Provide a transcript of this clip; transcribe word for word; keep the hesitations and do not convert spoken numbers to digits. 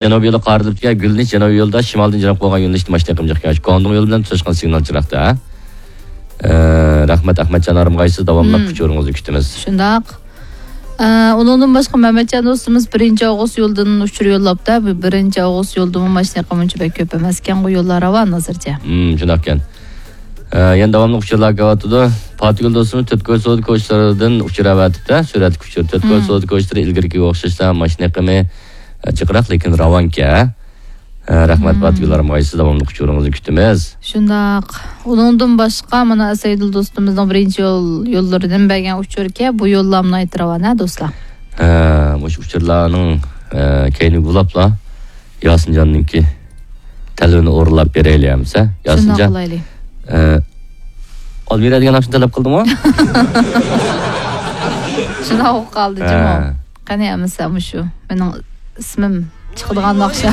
جەنۇبىي يولى قارىلىپتىكەن، گۈللىنىش جەنۇبىي يولىدا شىمالدىن جەنۇبقا بولغان يۆنىلىشتە ماشىنا ئېقىمى جىق ئىكەن. گۇاڭدۇڭ يولى بىلەن تۇتاشقان سىگنال چىراغدا. ئە، رەھمەت، ئەخمەتجان ھارمىغايسىز، داۋاملىق ئۇچۇرىڭىزنى كۈتىمىز. شۇنداق. ئە، ئۇنىڭدىن باشقا مەمەتجان دوستىمىز بىرىنچى ئاۋغۇست يولىدىن ئۇچۇر يوللاپتۇ. بۇ بىرىنچى ئاۋغۇست يولىدىمۇ ماشىنا ئېقىمى ئۇنچە بەك كۆپ ئەمەسكەنغۇ، يوللار راۋان ھازىرچە. ھىم، شۇنداقكەن. ئە، يەنە داۋاملىق ئۇچۇرلار كېلىۋاتىدۇ. پاتىگۈل دوستىمىز تۆتكۆل سودا كوچىلىرىدىن ئۇچۇر ئەۋەتىپتۇ. سۈرەتلىك ئۇچۇر. تۆتكۆل سودا كوچىلىرى ئىلگىرىكىگە ئوخشاشلا ماشىنا ئېقىمى، ئە، جىقراق، لېكىن راۋانكەن. ئە، رەھمەت، پاتىگۈل ھارمىغايسىز، داۋاملىق ئۇچۇرىڭىزنى كۈتىمىز. شۇنداق. ئۇنىڭدىن باشقا، مانا، سەيدۇل دوستىمىزنىڭ بىرىنچى يول، يوللىرىدىن بەرگەن ئۇچۇركەن، بۇ يوللامنى ئېيتىپ راۋان، ھە، دوستلار؟ ھە، مۇشۇ ئۇچۇرلارنىڭ، ئە، كەينىگە بولاپلا ياسىنجاننىڭكى تەلىپىنى ئورۇنلاپ بېرەيلى ئەمىسە. شۇنداق ياسىنجان، قىلايلى. ئە، ئالمىرا دېگەن ناخشىنى تەلەپ قىلدىمۇ؟ شۇنداق بولۇپ قالدى، جۇمۇ. ھە. قېنى ئەمىسە مۇشۇ مېنىڭ ئىسمىم چىقىدىغان ناخشا.